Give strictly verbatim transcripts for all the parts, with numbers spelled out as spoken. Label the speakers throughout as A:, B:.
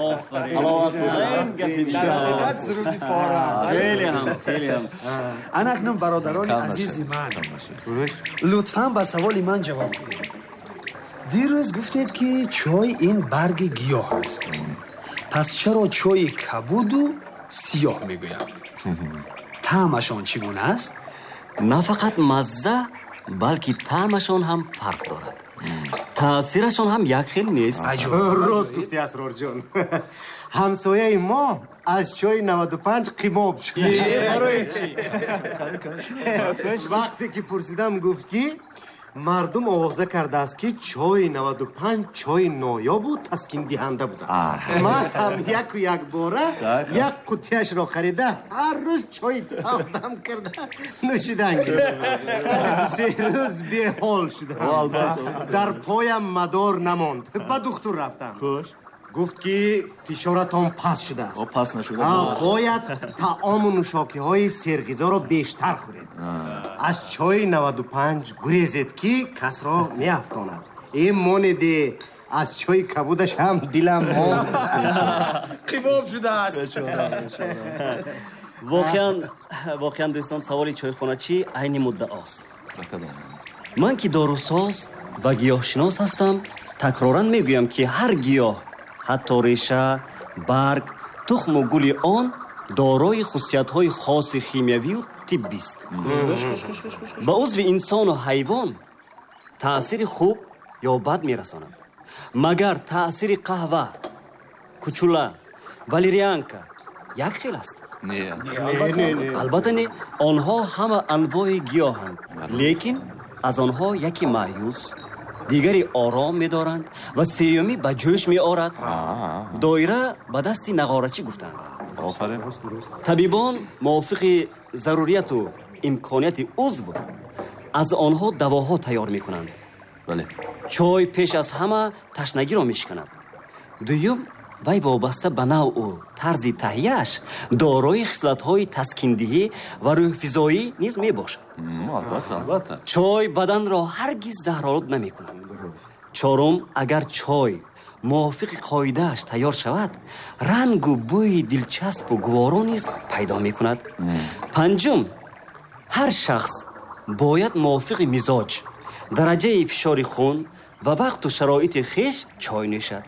A: Офарин,
B: дар суруди фора.
A: Хеле ҳам, хеле ҳам.
B: Ана акнун, бародарони азизи ман, лутфан ба саволи ман ҷавоб диҳед. Дирӯз гуфтед, ки чой ин барги гиёҳ аст. Пас чаро чойи кабуду сиёҳ мегӯянд? Таъмашон чӣ гуна аст?
A: На фақат мазза, балки таъмашон ҳам фарқ дорад, таъсирашон ҳам як хел нест.
C: Рост гуфтӣ, Асрорҷон. Ҳамсояи мо аз чои наваду панҷ қимоб шуд.
A: Барои чӣ?
C: Вақте ки пурсидам, гуфт, ки мардум овоза кардааст, ки чои наваду панҷ чои ноёбу таскиндиҳанда будааст. Ман ҳам яку якбора як қуттияшро харида, ҳар рӯз чои талдам карда нӯшидан гирифтам. Се рӯз беҳол шудам, дар поям мадор намонд. Ба духтур рафтам, гуфт, ки фишоратон паст шудааст.
D: Паст нашуда.
C: Бояд таому нӯшокиҳои серғизоро бештар хӯред, аз чои наваду панҷ гурезед, ки касро меафтонад. Э, монеде, аз чои кабудаш ҳам дилам монд.
B: Қимоб шудааст.
A: Воқеан, воқеан, дӯстон, саволи чойхоначӣ айни муддаост. Ман, ки дорусоз ва гиёҳшинос ҳастам, такроран мегӯям, ки ҳар гиёҳ, ҳатто реша, барг, тухму гули он дорои хусусиятҳои хоси химиявию тиббист, ба узви инсону ҳайвон таъсири хуб ё бад мерасонад. Магар таъсири қаҳва, кучула, валерианка як хел аст? Албатта, не. Онҳо ҳама анвои гиёҳанд, лекин аз онҳо яке маъюс, дигаре ором медоранд ва сеюмӣ ба ҷӯш меорад. Доира ба дасти нағорачӣ гуфтанд. Табибон мувофиқи зарурияту имконияти узв аз онҳо давоҳо тайёр мекунанд. Чой пеш аз ҳама ташнагиро мешиканад. Дуюм, вай вобаста ба навъу тарзи таҳияаш дорои хислатҳои таскиндиҳӣ ва рӯҳфизоӣ низ мебошад. Чой баданро ҳаргиз заҳролуд намекунад. Чорум, агар чой мувофиқи қоидааш тайёр шавад, рангу бӯи дилчаспу гуворо низ пайдо мекунад. Панҷум, ҳар шахс бояд мувофиқи мизоҷ, дараҷаи фишори хун ва вақту шароити хеш чой нӯшад.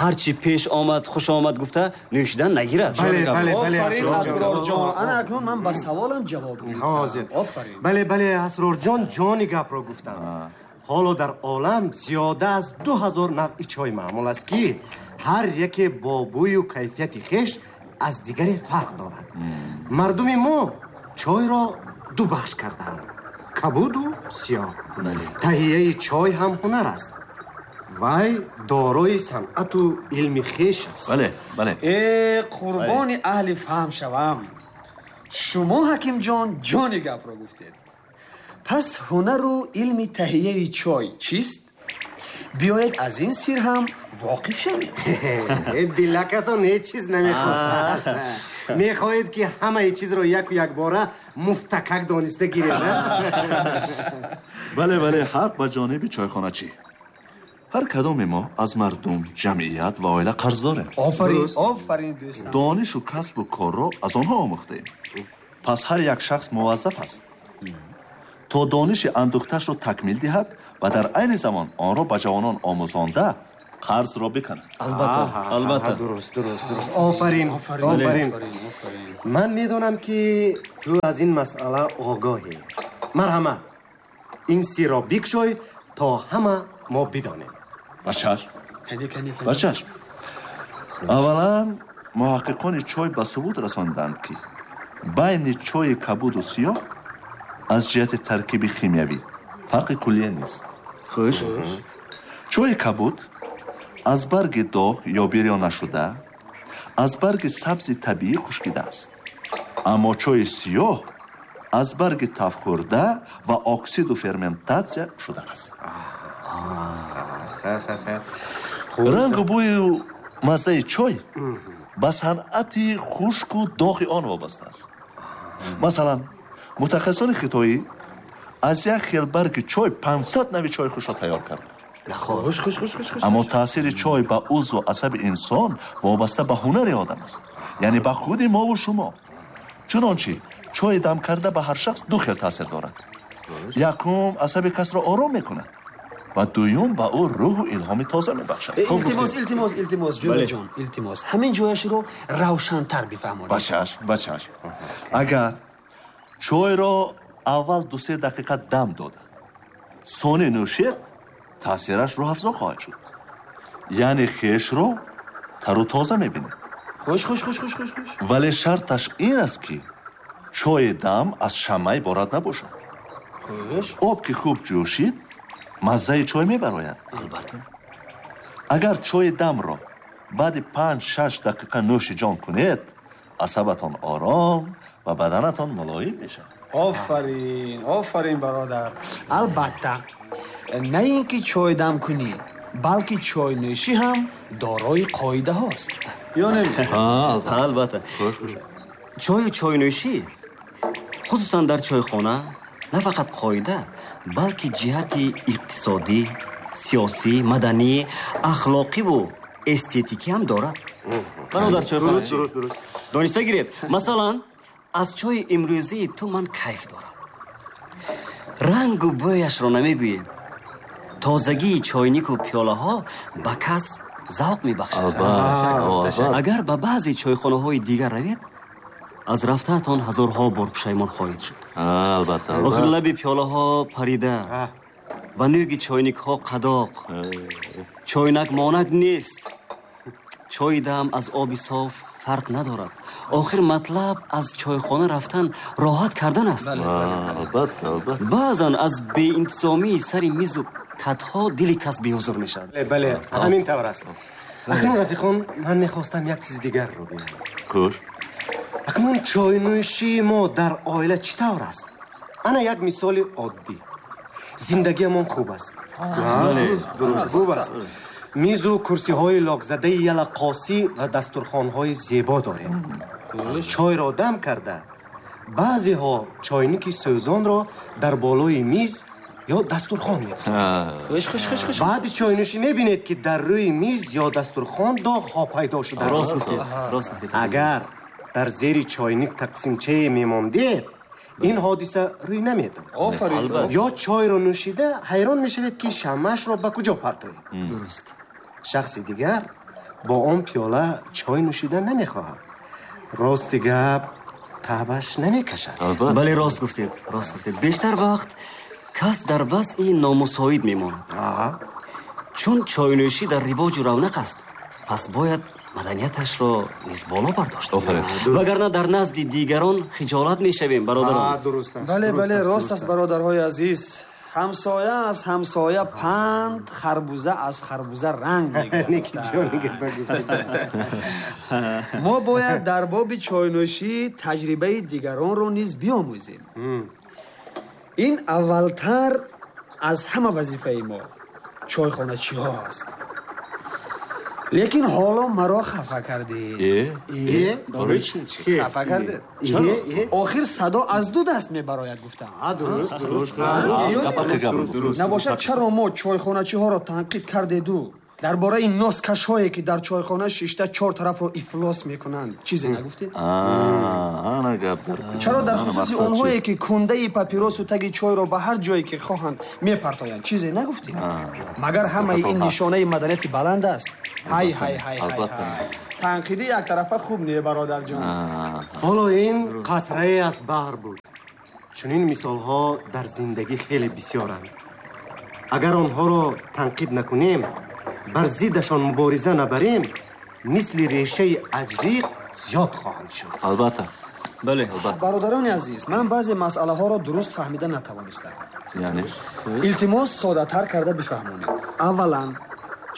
A: Ҳарчи пеш омад, хуш омад гуфта нӯшидан нагирад.
B: Офарин, Асрорҷон. Ана акнун ман ба саволам ҷавоб
C: Ҳозир. Бале, бале, Асрорҷон ҷони гапро гуфтам. Ҳоло дар олам зиёда аз ду ҳазор навъи чой маъмул аст, ки ҳар яке бо бӯю кайфияти хеш аз дигаре фарқ дорад. Мардуми мо чойро ду бахш кардаанд: кабуду сиёҳ. Таҳияи чой ҳам ҳунар аст, вай дорои санъату илми хеш аст.
D: Бале, бале.
B: Э, қурбони аҳли фаҳм шавам. Шумо, ҳакимҷон, ҷони гапро гуфтед. Пас ҳунару илми таҳияи чой чист? Биёед, аз ин сир ҳам воқиф шавем.
C: Дилакатон ҳеҷ чиз намехостааст. Мехоҳед, ки ҳамаи чизро яку якбора муфтакак дониста гиред.
D: Бале, бале, ҳақ ба ҷониби чойхоначӣ. Ҳар кадоме мо аз мардум, ҷамъият ва оила қарз дорем.
B: Офарин, офарин, дӯстам.
D: Донишу касбу корро аз онҳо омӯхтаем. Пас ҳар як шахс муваззаф аст, то дониши андӯхтаашро такмил диҳад ва дар айни замон онро ба ҷавонон омӯзонда, қарзро биканад.
A: Албатта, албатта.
C: Дуруст, дуруст, дуруст. Офарин, офарин. Ман медонам, ки ту аз ин масъала огоҳӣ. Марҳамат, ин сирро бикшой, то ҳама мо бидонем.
D: Ба чашм, ба чашм. Аввалан, муҳаққиқони чой ба субут расонданд, ки байни чойи кабуду сиёҳ аз ҷиҳати таркиби химиявӣ фарқи куллия нест.
A: Хуш.
D: Чойи кабуд аз барги доғ ё бирён нашуда, аз барги сабзи табиӣ хушкидааст, аммо чойи сиёҳ аз барги тафхӯрда ва оксиду ферментатсия шудааст. Рангу бӯю маззаи чой ба санъати хушку доғи он вобаста аст. Масалан, мутахассисони хитоӣ аз як хел барги чой панҷсад нави чойи хушро тайёр карданд.
A: Наход.
B: Хуш хуш хуш хуш хуш.
D: Аммо таъсири чой ба узву асаби инсон вобаста ба ҳунари одам аст, яъне ба худи мову шумо. Чунончи чойи дам карда ба ҳар шахс ду хел таъсир дорад. Якум, асаби касро ором мекунад ва дуюм, ба ӯ рӯҳу илҳоми тоза мебахшад.
B: Илтимос, илтимос, илтимос, ҷӯраҷон, илтимос, ҳамин ҷояшро равшантар бифаҳмонед.
D: Ба чашм, ба чашм. Агар чойро аввал ду-се дақиқа дам дода, сони нӯшед, таъсираш рӯҳафзо хоҳад шуд. Яъне хешро тару тоза мебинед.
B: Хуш хуш хуш хуш хуш хуш.
D: Вале шарташ ин аст, ки чойи дам аз шама иборат набошад.
B: Хуш.
D: Об ки хуб ҷӯшид, маззаи чой мебарояд.
A: Албатта.
D: Агар чойи дамро баъди панҷ-шаш дақиқа нӯши ҷон кунед, асабатон ором ва баданатон мулоим мешавад.
B: Офарин, офарин, бародар. Албатта, на ин ки чой дам кунӣ, балки чойнӯшӣ ҳам дорои қоидаҳост. Ё не?
A: Албатта.
D: Хуш хуш.
A: Чою чойнӯшӣ, хусусан дар чойхона, на фақат қоида, балки ҷиҳати иқтисодӣ, сиёсӣ, маданӣ, ахлоқиву эстетикӣ ҳам дорад. Бародар чойхоначи,
C: Дуруст, дуруст.
A: дониста гиред, масалан, аз чойи имрӯзии ту ман кайф дорам. Рангу бӯяшро намегӯед. Тозагии чойнику пиёлаҳо ба кас завқ мебахшад.
D: Албатта.
A: Агар ба баъзе чойхонаҳои дигар равед, аз рафтаатон ҳазорҳо бор пушаймон хоҳед шуд.
D: Албатта,
A: Охир
D: албатта.
A: лаби пиёлаҳо парида ва нӯги чойникҳо қадоқ. Чойнак монак нест. Чойи дам аз оби соф фарқ надорад. Охир матлаб аз чойхона рафтан роҳат кардан аст.
D: Албатта, албатта.
A: Баъзан аз беинтизомии сари мизу катҳо дили кас беҳузур мешавад.
C: Бале, бале, ҳамин тавр аст. Акнун, рафиқон, ман мехостам як чизи дигарро гӯям.
D: Хуш.
C: Акнун чойнӯшии мо дар оила чӣ тавр аст? Ана як мисоли оддӣ. Зиндагиамон хуб аст.
A: Бале.
C: Дуруст, хуб аст. Мизу курсиҳои локзадаи ялақосӣ ва дастурхонҳои зебо дорем. Чойро дам карда, баъзеҳо чойники сӯзонро дар болои миз ё дастурхон мегузоранд.
B: Хуш хуш хуш хуш.
C: Баъди чойнӯшӣ мебинед, ки дар рӯи миз ё дастурхон доғҳо пайдо шудаанд.
A: Рост гуфтед, рост гуфтед.
C: Агар дар зери чойник тақсимчае мемондед, ин ҳодиса рӯй намедод.
B: Офарин.
C: Ё чойро нӯшида ҳайрон мешавед, ки шамаашро ба куҷо партоед.
A: Дуруст.
C: Шахси дигар бо он пиёла чой нӯшида намехоҳад. Рости гап, таъбаш намекашад.
D: Албатта.
A: Бале, рост гуфтед, рост гуфтед. Бештар вақт кас дар вазъи номусоид мемонад. Чун чойнӯшӣ дар ривоҷу равнақ аст, пас бояд маданияташро низ боло бардошт.
D: Офарин.
A: Вагарна дар назди дигарон хиҷолат мешавем, бародарон.
C: Дуруст аст.
B: Бале, бале, рост аст, бародарҳои азиз. Ҳамсоя аз ҳамсоя панд, харбуза аз харбуза ранг мегирад.
C: Неки ҷони гапа гуфтед.
B: Мо бояд дар боби чойнӯшӣ таҷрибаи дигаронро низ биомӯзем. Ин аввалтар аз ҳама вазифаи мо чойхоначиҳо аст. Лекин ҳоло маро хафа кардед.
D: Э?
C: Э?
A: Барои чӣ?
B: Хафа кардед.
C: Э, э.
B: Охир садо аз ду даст мебарояд, гуфтам.
C: Дуруст, дуруст.
D: Гап ҳаққи гап.
B: Набошад, чаро мо чойхоначиҳоро танқид кардеду дар бораи носкашҳое, ки дар чойхона шишта чор тарафро ифлос мекунанд, чизе нагуфтед?
D: Ана гап дар куҷо?
B: Чаро дар
D: Ана
B: хусуси
D: мақсад чӣ?
B: онҳое, ки кундаи папиросу таги чойро ба ҳар ҷое ки хоҳанд мепартоянд, чизе нагуфтед? Магар ҳамаи ин нишонаи маданияти баланд аст? Ҳай ҳай ҳай ҳай
D: Албатта.
B: ҳай. Танқиди яктарафа хуб не, бародарҷон.
C: Ҳоло ин қатрае аз баҳр буд. Чунин мисолҳо дар зиндагӣ хеле бисёранд. Агар онҳоро танқид накунем, бар зиддашон мубориза набарем, мисли решаи аҷриқ зиёд хоҳанд шуд.
D: Албатта.
A: Бале.
B: Бародарони азиз, ман баъзе масъалаҳоро дуруст фаҳмида натавонистам.
D: Яъне?
B: Илтимос, соддатар карда бифаҳмонед. Аввалан,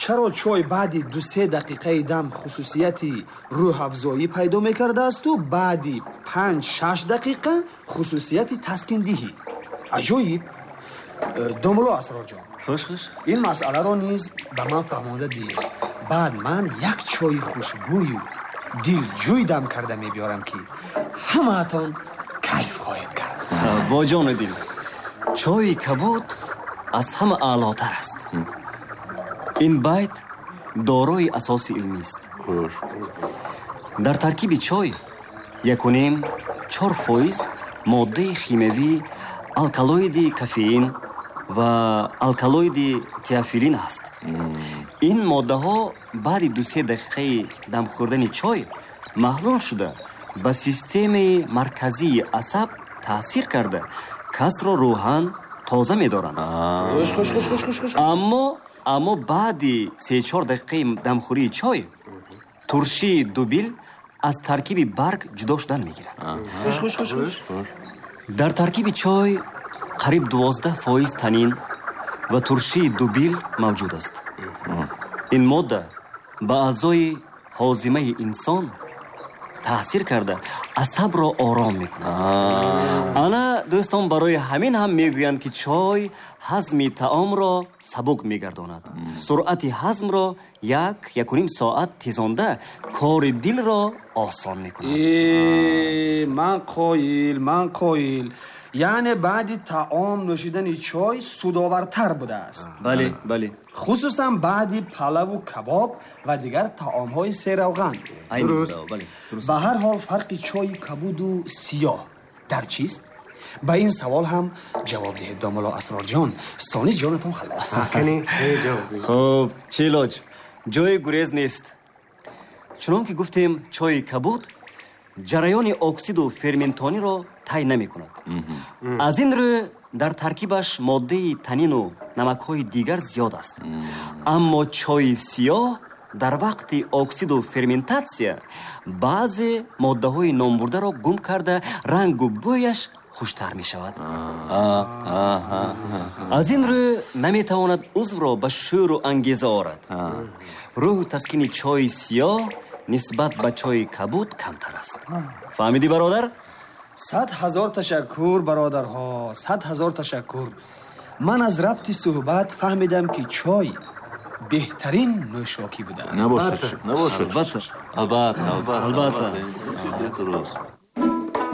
B: чаро чой баъди ду-се дақиқаи дам хусусияти рӯҳафзоӣ пайдо мекардаасту баъди панҷ-шаш дақиқа хусусияти таскиндиҳӣ? Аҷоиб. Э, домулло Асрорҷон,
A: Хуш хуш.
B: ин масъаларо низ ба ман фаҳмонда диҳед. Баъд ман як чойи хушбӯю дилҷӯй дам карда мебиёрам, ки ҳамаатон кайф хоҳед кард.
A: Бо ҷону дил. Чойи кабуд аз ҳама аълотар аст. Ин байт дорои асоси илмист.
D: Хуш.
A: Дар таркиби чой якуним чор фоиз моддаи химиявии алкалоиди кофеин ва алкалоиди теофилин аст. Ин моддаҳо баъди ду-се дақиқаи дамхӯрдани чой маҳлул шуда ба системаи марказии асаб таъсир карда касро рӯҳан тоза медоранд.
B: Хуш, хуш, хуш, хуш, хуш, хуш.
A: Аммо аммо баъди се-чор дақиқаи дамхӯрии чой туршии дубил аз таркиби барг ҷудо шудан мегирад.
B: Хуш, хуш, хуш, хуш.
A: Дар таркиби чой қариб дувоздаҳ фоиз танин ва туршии дубил мавҷуд аст. Ин модда ба аъзои ҳозимаи инсон таъсир карда асабро ором мекунад. Ана дӯстон, барои ҳамин ҳам мегӯянд, ки чой ҳазми таомро сабук мегардонад, суръати ҳазмро як якуним соат тезонда кори дилро осон мекунад.
B: Э, ман қоил, ман қоил. Яъне баъди таом нӯшидани чой судовартар будааст.
A: Бале, бале.
B: Хусусан баъди палаву кабоб ва дигар таомҳои серавған.
A: Айни
C: Дуруст.
A: муддао, бале, дуруст.
B: Ба ҳар ҳол фарқи чойи кабуду сиёҳ дар чист? Ба ин савол ҳам ҷавоб диҳед, домулло Асрорҷон. Сони ҷонатон халос.
C: Кани, э, ҷавоб диҳед.
A: Хуб, чӣ илоҷ? Ҷои гурез нест. Чунон ки гуфтем, чойи кабуд ҷараёни оксиду ферментониро тай намекунад. Аз ин рӯ дар таркибаш моддаи танину намакҳои дигар зиёд аст. Аммо чойи сиёҳ дар вақти оксиду ферментатсия баъзе моддаҳои номбурдаро гум карда рангу бӯяш хуштар мешавад. Аз ин рӯ наметавонад узвро ба шӯру ангеза орад. Рӯҳу таскини чойи сиёҳ нисбат ба чойи кабуд камтар аст. Фаҳмидӣ, бародар?
B: Сад ҳазор ташаккур, бародарҳо, сад ҳазор ташаккур. Ман аз рафти суҳбат фаҳмидам, ки чой беҳтарин нӯшокӣ будааст.
D: Набошад, набошад.
A: Албатта.
D: Албатта, албатта.
A: Албатта.
D: Фикри дуруст.